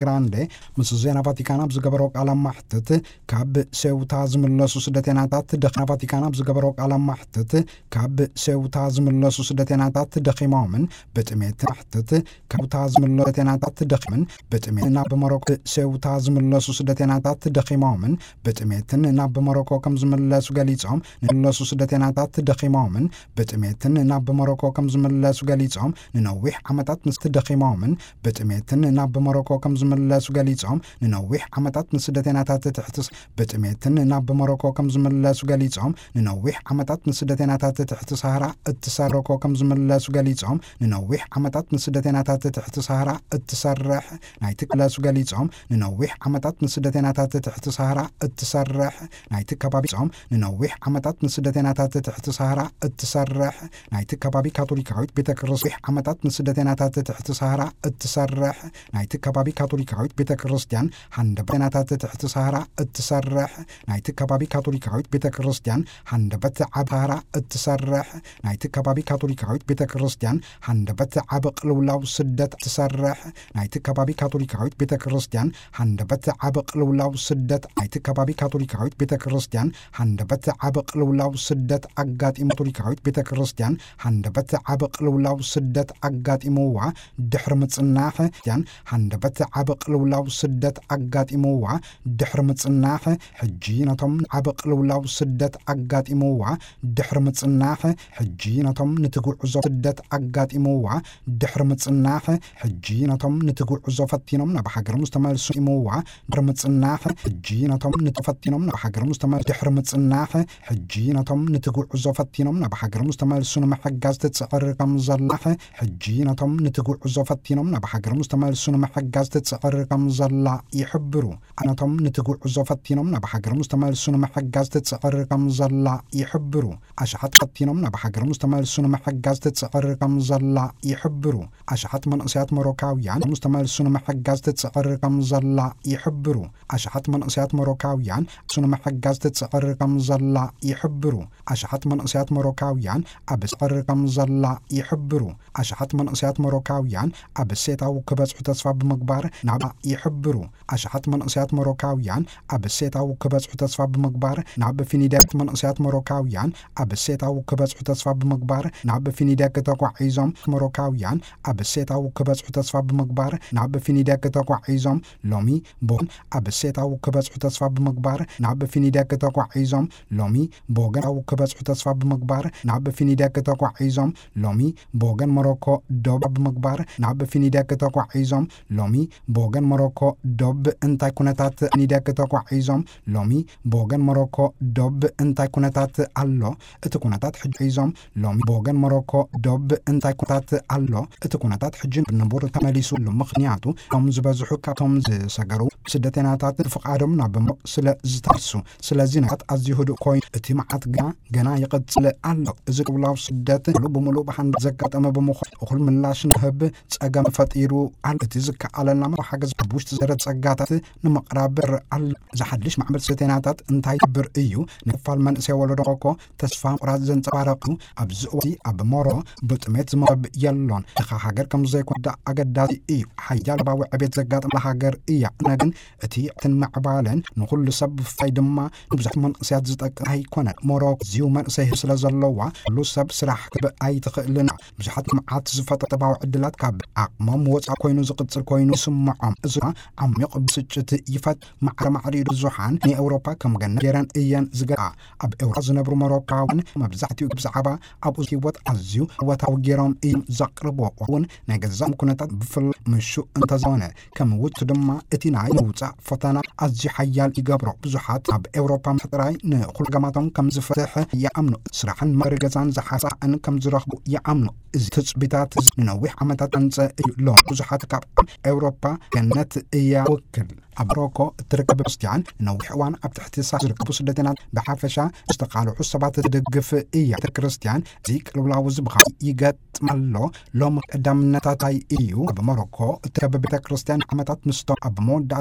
ግራንዴ ምስ ዜና ቫቲካን ኣብ ዝገበሮ ቃለ ማሕትት፣ ካብ ሴውታ ዝምለሱ ስደተኛታት ደኺ-፣ ቫቲካን ኣብ ዝገበሮ ቃለ ማሕትት፣ ካብ ሴውታ ዝምለሱ ስደተኛታት ደኺሞምን ብጥሜት ማሕትት፣ ካብ ታ ዝምለሱ ስደተኛታት ደኺምን ብጥሜት ናብ ሞሮኮ፣ ሴውታ ዝምለሱ ስደተኛታት ደኺሞምን ብጥሜትን ናብ ሞሮኮ ከም ዝምለሱ ገሊጾም፣ ንለሱ ስደተኛታት ደኺሞምን ብጥሜትን ናብ ሞሮኮ ከም ዝምለሱ ገሊጾም፣ ንነዊሕ ዓመታት ምስ ደኺሞምን ብጥሜትን ናብ ሞሮኮ ከም ዝምለሱ ገሊጾም፣ ንነዊሕ ዓመታት ንስደተኛታት ትሕቲ ስ-፣ ብጥሜትን ናብ ሞሮኮ ከም ዝምለሱ ገሊጾም፣ ንነዊሕ ዓመታት ንስደተኛታት ትሕቲ ሳህራ እትሰርኮ ከም ዝምለሱ ገሊጾም፣ ንነዊሕ ዓመታት ንስደተኛታት ትሕቲ ሳህራ እትሰርሕ ናይቲ ክለሱ ገሊጾም፣ ንነዊሕ ዓመታት ንስደተኛታት ትሕቲ ሳህራ እትሰርሕ ናይቲ ከባቢ ጾም፣ ንነዊሕ ዓመታት ንስደተኛታት ትሕቲ ሳህራ እትሰርሕ ናይቲ ከባቢ ካቶሊካዊት ቤተ ክርስቲያን፣ ዓመታት ንስደተኛታት ትሕቲ ሳህራ እትሰርሕ ናይቲ ከባቢ ካቶሊካዊት ቤተ ክርስቲያን፣ ሃንደበት ናታት ትሕቲ ሳህራ እትሰርሕ ናይቲ ከባቢ ካቶሊካዊት ቤተ ክርስቲያን፣ ሃንደበት ዓብ ሳህራ እትሰርሕ ናይቲ ከባቢ ካቶሊካዊት ቤተ ክርስቲያን፣ ሃንደበት ዓብ ቅልውላው ስደት እትሰርሕ ናይቲ ከባቢ ካቶሊካዊት ቤተ ክርስቲያን፣ ሃንደበት ዓብ ቅልውላው ስደት ናይቲ ከባቢ ካቶሊካዊት ቤተ ክርስቲያን፣ ሃንደበት ዓብ ቅልውላው ስደት ኣጋጢሙ ካቶሊካዊት ቤተ ክርስቲያን፣ ሃንደበት ዓብ ቅልውላው ስደት ኣጋጢምዋ ድሕሪ ምጽናሕ፣ ክርስቲያን፣ ሃንደበት ዓብ ቅልውላው ስደት ኣጋጢምዋ ድሕሪ ምጽናሕ፣ ሕጂ ነቶም ዓብ ቅልውላው ስደት ኣጋጢምዋ ድሕሪ ምጽናሕ፣ ሕጂ ነቶም ንትጉዕዞ ስደት ኣጋጢምዋ ድሕሪ ምጽናሕ፣ ሕጂ ነቶም ንትጉዕዞ ፈቲኖም ናብ ሃገሮም ዝተመልሱ ኢምዋ ድሕሪ ምጽናሕ፣ ሕጂ ነቶም ንተፈቲኖም ናብ ሃገሮም ዝተመልሱ ድሕሪ ምጽናሕ፣ ሕጂ ነቶም ንትጉዕዞ ፈቲኖም ናብ ሃገሮም ዝተመልሱ ንምሕጋዝ ትጽዕር ከም ዘላ፣ ሕጂ ነቶም ንትጉዕዞ ፈቲኖም ናብ ሃገሮም ዝተመልሱ ንምሕጋዝ ትጽዕር ከም ዘላ ይሕብሩ። ነቶም ንትጉዕዞ ፈቲኖም ናብ ሃገሮም ዝተመልሱ ንምሕጋዝ ትጽዕር ከም ዘላ ይሕብሩ። ኣሽሓት ፈቲኖም ናብ ሃገሮም ዝተመልሱ ንምሕጋዝ ትጽዕር ከም ዘላ ይሕብሩ። ኣሽሓት መንእሰያት ሞሮካውያን ዝተመልሱ ንምሕጋዝ ትጽዕር ከም ዘላ ይሕብሩ። ኣሽሓት መንእሰያት ሞሮካውያን እሱ ንምሕጋዝ ትጽዕር ከም ዘላ ይሕብሩ። ኣሽሓት መንእሰያት ሞሮካውያን ኣብ ጽዕር ከም ዘላ ይሕብሩ። ኣሽሓት መንእሰያት ሞሮካውያን ኣብ ሴታው ክበጽሑ ተስፋ ብምግባር ናብ ይሕብሩ። ኣሽሓት መንእሰያት ሞሮካውያን ኣብ ሴታው ክበጽሑ ተስፋ ብምግባር ናብ ፊኒደክ መንእሰያት ሞሮካውያን ኣብ ሴታው ክበጽሑ ተስፋ ብምግባር ናብ ፊኒደክ ተጓዒዞም። ሞሮካውያን ኣብ ሴታው ክበጽሑ ተስፋ ብምግባር ናብ ፊኒደክ ተጓዒዞም። ሎሚ ቦን ኣብ ሴታው ክበጽሑ ተስፋ ብምግባር ናብ ፊኒደክ ተጓዒዞም። ሎሚ ብወገን ክበጽሑ ተስፋ ብምግባር ናብ ፊኒደክ ተጓዒዞም። ሎሚ ብወገን ሞሮኮ ዶብ ብምግባር ናብ ፊኒደክ ተጓዒዞም። ሎሚ ብወገን ሞሮኮ ዶብ እንታይ ኩነታት ፊኒደክ ተጓዒዞም። ሎሚ ብወገን ሞሮኮ ዶብ እንታይ ኩነታት ኣሎ? እቲ ኩነታት ሕጂ ሒዞም ሎሚ ብወገን ሞሮኮ ዶብ እንታይ ኩነታት ኣሎ? እቲ ኩነታት ሕጂ ንቡር ተመሊሱ ኣሎ። ምኽንያቱ እቶም ዝበዝሑ ካብቶም ዝሰገሩ ስደተኛታት ፍቓዶም ናብ ሞሮኮ ስለ ዝተመልሱ። ስለዚ ነገራት ኣዝዩ ህዱእ ኮይኑ እቲ መዓት ግና ገና ይቕጽል ኣሎ። እዚ ቅልውላው ስደት ሙሉእ ብምሉእ ብሓንሳብ ዘጋጠመ ብምዃኑ እኹል ምላሽ ንክህብ ጸገም ፈጢሩ ኣሎ። እቲ ዝከኣለና ሓገዝ ብውሽጢ ዝደረ ጸጋታት ንምቕራብ ኣሎ። እዚ ሓድሽ ማዕበል ስደተኛታት እንታይ ይገብር እዩ? ንክፋል መንእሰይ ወለዶ ሞሮኮ ተስፋ ምቑራጽ ዘንጸባረቕ እዩ። ኣብዚ እዋን ኣብ ሞሮኮ ብጥሜት ዝሞት ሰብ የሎን። ድኻ ሃገር ከም ዘይኮነ ኣገዳሲ እዩ። ሓያል ሰብኣዊ ዕቤት ዘጋጠመላ ሃገር እያ። እነ ግን እቲ ዕትን ምዕባለን ንኹሉ ሰብ ብፍላይ ድማ ንብዙሕ መንእሰያት ዝጠቅም ኣይኮነን። ሞሮኮ ዝዩ መንእሰይ ስለ ዘለዋ ኩሉ ሰብ ስራሕ ክትብ ኣይትኽእልን። ብዙሓት መዓት ዝፈጠረ ጥባዊ ዕድላት ካብ ዓቕሞም ወጻኢ ኮይኑ ዝቕጽል ኮይኑ ይስምዖም። እዚ ድማ ዓሚቕ ብስጭት ይፈጥ። ማዕረ ማዕሪኡ ብዙሓን ንኤውሮፓ ከም ገነት ገይረን እየን ዝገ ኣብ ኤውሮፓ ዝነብሩ ሞሮካውያን መብዛሕትኡ ብዛዕባ ኣብኡ ህይወት ኣዝዩ እወታዊ ገይሮም እዮም ዘቕርብዎ። እውን ናይ ገዛም ኩነታት ብፍላይ ምሹ እንተዘኾነ ከም ውጭ ድማ እቲ ናይ ምውጻእ ፈተና ኣዝዩ ሓያል ይገብሮ። ብዙሓት ኣብ ኤውሮፓ ጥራይ ንኹሉ ገማቶም ከም ዝፈትሕ ይኣምኑ። ስራሕን መሪ ገዛን ዝሓሳእን ከም ዝረኽቡ ይኣምኑ። እዚ ትጽቢታት እዚ ንነዊሕ ዓመታት ኣንጸ እዩ። ሎም ብዙሓት ካብ ኤውሮፓ ገነት እያ ውክል። ኣብ ሞሮኮ እትርከብ ክርስትያን ነዊሕ እዋን ኣብ ትሕቲ ሳ ዝርከቡ ስደተኛት ብሓፈሻ ዝተቃልዑ ሰባት ትድግፍ እያ። ቤተ ክርስትያን እዚ ቅልውላው እዚ ብኻ ይገጥም ኣሎ። ሎም ቀዳምነታታይ እዩ። ኣብ ሞሮኮ እትርከብ ቤተ ክርስትያን ዓመታት ምስቶም ኣብ መወዳእታ